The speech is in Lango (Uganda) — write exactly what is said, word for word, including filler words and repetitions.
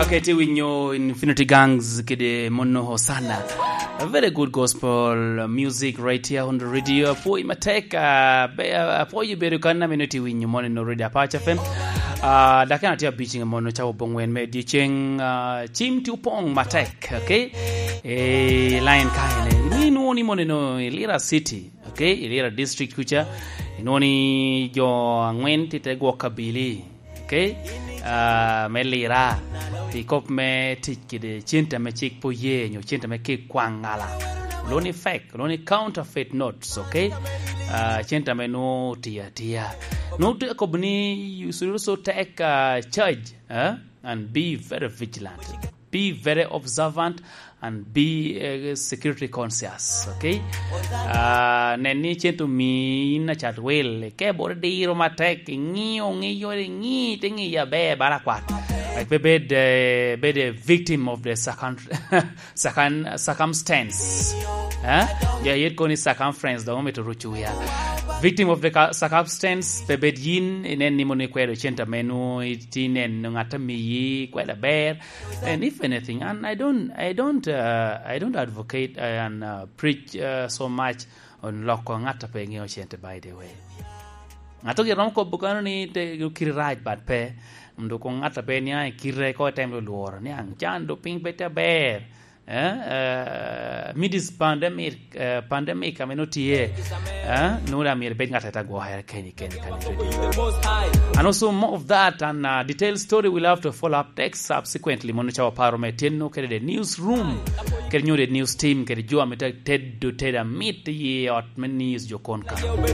Ok, tye winyo Infinity Gangs kede Mono Hosanna. A very good gospel music right here on the radio. Apwoyi matek, ah, be-, ah, apwoyi bedo kan na meno tye winyo mono no Radio Apac F M. Ah, dakika tye abic nge mono cawa obongwen me dyeceng, ah, cim tye opong matek, ok? Eh, line ka ene. Ni nwoni mono no i Lira City, ok? I Lira District kuca. Inwoni jo angwen tye te gwok kabili. Ok? Ah, me Lira, pi kop me tic kede cente ame cik pe oye, nyo cente ame kik kwaŋ ŋala. Olwongo ni fake, olwongo ni counterfeit notes, ok? Ah, cente ame nwoŋo otiyo atiya. Nwoŋo te kobo ni, you should also take, ah, charge, eh? And be very vigilant. Be very observant and be, eh, security conscious, ok? Ah, nen ni cente omi in acat wil, ke bot idiro matek, iŋio, ŋio, iŋi, te ŋiyo aber bala kwat. Wek pe bed, eh, bed a victim of the circum-, circum-, circumstance. Eh? Ja yet koni circumference, dong omito ruco wiya. Victim of the ca-, circumstance, pe bed yin, inen ni mono ikwedo cente ame nwoŋo itye neno ŋat a miyi, kwedo aber. And if anything, and I don't, I don't, uh, I don't advocate, uh, and, uh, preach, uh, so much on loko ŋat a pe ŋeo cente, by the way. Ŋat ogire romo kobo kano ni te kiri rac, but pe, mdo ko ŋat a pe niaŋ i kite ko item lo lworo, niaŋ can do piny pe te aber. Eh, eh, mid is pandemic, eh, pandemic ame no tye, eh, nwoŋo daŋ myero ibed ŋat a te gwokere keni, keni, keni. And also more of that and, uh, detailed story we'll have to follow up text subsequently. Mono cawa paro me tyenno kede the newsroom, kede nyo the news team, kede jo ame te-, tedo, tedo amit i ot me news jo kon ka.